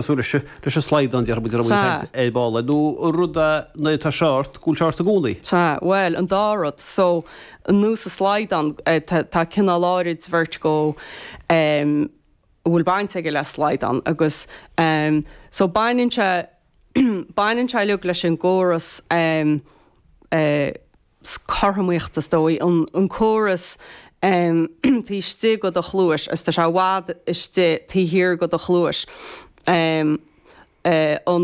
Cosúil leis leis an slaghdán, déarfaidh muid, a raibh muid ag caint ar ball air, nó rud é nuair atá sé ort, go bhfuil sé ort i gcónaí. Sea, bhuel, an dá rud. So, nós an slaghdán, tá cineál áirid vertigo a bhfuil baint aige le slaghdán agus so baineann sé, baineann sé uilig leis an gcóras cothromaíochta is dóigh, an córas taobh istigh de do chluais agus tá sé i bhfad istigh taobh thiar de do chluais, an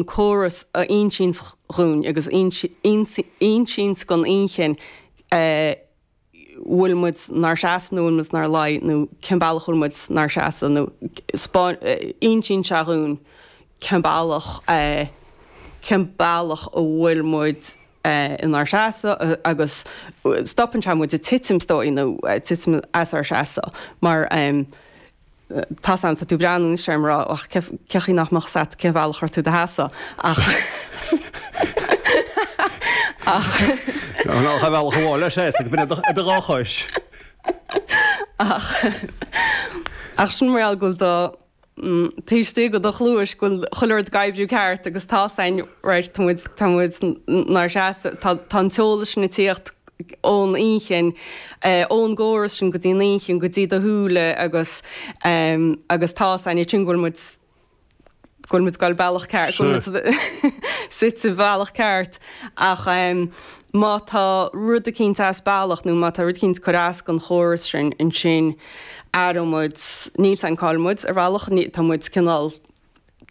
córas a insíonns dhúinn agus insíonns don inchinn bhfuil muid 'nár seasamh nó bhfuil muid 'nár luí nó cén bealach bhfuil muid 'nár seasamh nó insíonn sé dhúinn cén bealach cén bealach a bhfuil muid inár seasamh agus stopann sé muid ag titim is dóigh nó titim as ár seasamh mar tá's a'm tá tú ag breathnú anois orm ag rá ach cé chaoi nach mbeadh 's a'd cén bhealach a raibh tú i do sheasamh ach ach Tá bealach amháin le seasamh go binn i do dhá chois. Ach ach sin mar gheall go bhfuil do taobh istigh de do chluais go bhfuil chuile rud ag oibriú ceart agus tá's a'inn right tá muid tá muid 'nár seasamh tá tá an t-eolas sin ag tíocht ón inchinn ón gcóras sin go dtí an inchinn go dtí do shúile agus agus tá's a'inn ansin go bhfuil muid go bhfuil muid ag dul bealach ceart, go bhfuil muid suite bealach ceart ach má tá rud eicínt as bealach nó má tá rud eicínt ag cur as don chóras sin ansin aireoidh muid, níl 's a'inn cá bhfuil muid ar bhealach, tá muid cineál,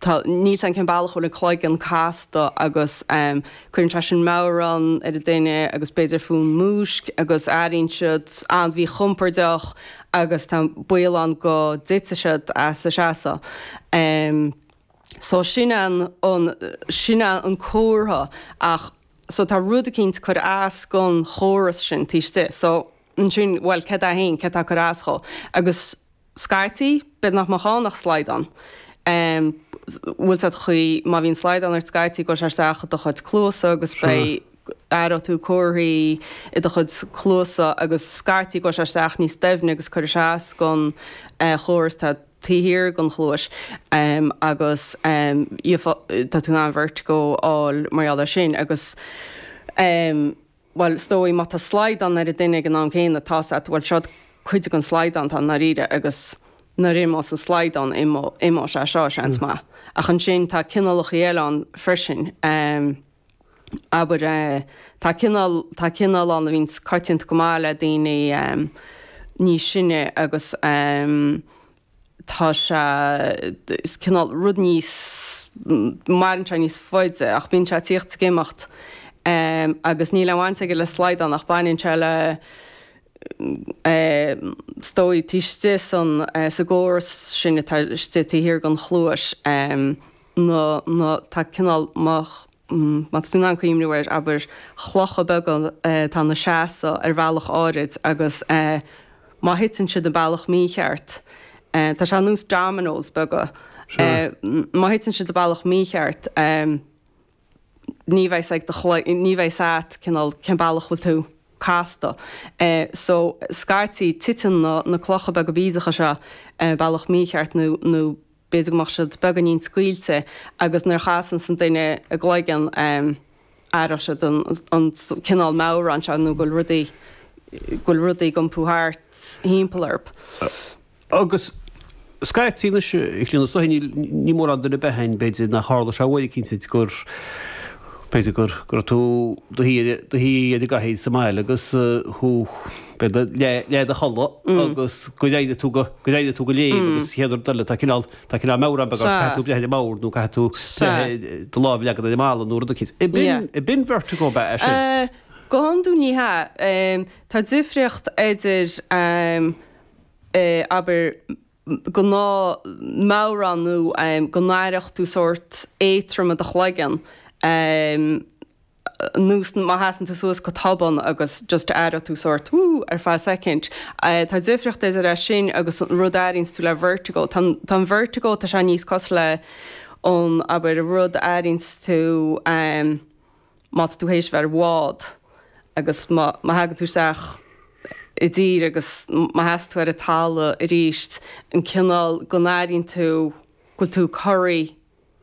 tá, níl 's a'inn cén bealach a bhfuil an cloigeann casta agus cuireann sé sin meadhrán ar an duine agus b'fhéidir fonn múisc agus airíonn siad an-mhíchompordach agus tá baol ann go dtitfidh siad as a seasamh. So sin an, sin an comhartha ach so tá rud eicínt ag cur as don chóras sin taobh istigh. So ansin, bhuel céard é féin, céard tá ag cur as dhó? Agus scaití, b'fhéidir nach mbeadh ann ach slaghdán. Bhfuil 's a'd chaoi, má bhíonn slaghdán ort scaití gabhfaidh sé isteach i do chuid cluasa agus beidh, aireoidh tú comharthaí i do chuid cluasa agus scaití gabhfaidh sé isteach níos doimhne agus cuirfidh sé as don chóras atá taobh thiar den chluais agus tá tú in ann vertigo a fháil mar gheall air sin agus bhuel is dóigh má tá slaghdán ar an duine ag an am céanna tá's a't bhuel seo cuid den slaghdán atá i ndáiríre agus nuair a imeos an slaghdán imeoidh sé seo seans maith ach ansin tá cineálacha eile ann freisin. Abair, tá cineál, tá cineál ann a bhíonns coitianta go maith le daoine níos sine agus tá sé, is cineál rud níos, maireann sé níos faide ach bíonn sé ag tíocht is ag imeacht agus níl aon bhaint aige le slaghdán ach baineann sé le, is dóigh, taobh istigh san, sa gcóras sin atá istigh taobh thiar den chluais, na, na, tá cineál, má, má tá tú in ann cuimhniú air, abair, clocha beaga atá ina seasamh ar bhealach áirid agus má thiteann siad an bealach mícheart, tá sé ar nós dominoes beaga, má thiteann siad an bealach mícheart, ní bheidh 's ag do chloigeann, ní bheidh 's a't cineál cén bealach bhfuil tú casta. So, scaití, titeann na, na clocha beaga bídeacha seo bealach mícheart nó, nó b'fhéidir go mbeadh siad beagáinín scaoilte agus nuair a chasanns an duine a gcloigeann, aireoidh siad an, an cineál meadhrán seo nó go bhfuil rudaí, go bhfuil rudaí ag iompú thart thimpeall orthu. Agus scaití anois, a Chlíona, is dóiche níl, ní mórán duine ar bith againn, b'fhéidir, nach tharla sé uair eicínt gur, b'fhéidir gur, go raibh tú do shuí ar, do shuí ar an gcathaoir sa mbaile agus thú, b'fhéidir, leath, leath i do chodladh agus gur éirigh tú go, gur éirigh tú go léim agus chéad rud eile tá cineál, tá cineál meadhrán beag ort, caithfidh tú breith ar an mbord nó caithfidh tú breith, do lámh a leagan ar an mballa nó rud eicínt. Ab in, ab in vertigo ab ea é sin? Go hiondúil ní hea. Tá difríocht idir, abair, gnáth-mheadhrán nó go n-aireodh tú sórt éadrom i do chloigeann, nós má sheasann tú suas go tobann agus just aireoidh tú sórt wú ar feadh soicind. Tá difríocht idir é sin agus an rud a airíonns tú le vertigo. Tá an vertigo, tá sé níos cosúil le an, abair, rud a airíonns tú, má tá tú théis bheith ar bhád agus má thagann tú isteach i dtír agus má sheasann tú ar an talamh arís, an cineál go n-airíonn tú go bhfuil tú corraithe.